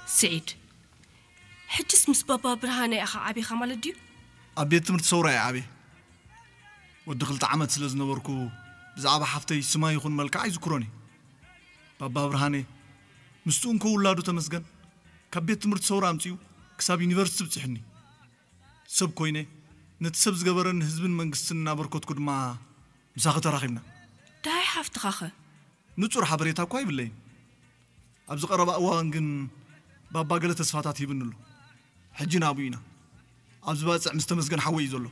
ስዒድ፣ ሕጅስ ምስ ባባ ብርሃነ ኢኻ ዓቢኻ ማለት ድዩ? ኣብ ቤት ትምህርቲ ሰውራ እየ ዓብየ። ወዲ ክልተ ዓመት ስለ ዝነበርኩ፣ ብዛዕባ ሓፍተይ ስማ ይኹን መልክዓ ኣይዝክሮን እየ። ባባ ብርሃነ፣ ምስኡ እንኮ ውላዱ ተመስገን፣ ካብ ቤት ትምህርቲ ሰውራ ኣምጺኡ ክሳብ ዩኒቨርሲቲ ብጽሕኒ። ሰብ ኮይነ፣ ነቲ ሰብ ዝገበረኒ ህዝብን መንግስትን እናበርከትኩ ድማ ምሳኺ ተራኺብና። ደሃይ ሓፍትኻኸ? ንጹር ሓበሬታ እኳ ይብለይን። ኣብዚ ቀረባ እዋን ግን ባባ ገለ ተስፋታት ሂብኒ ኣሎ። ሕጂ ናብኡ ኢና። ኣብዚ ባጽዕ ምስ ተመስገን ሓወይ እዩ ዘሎ።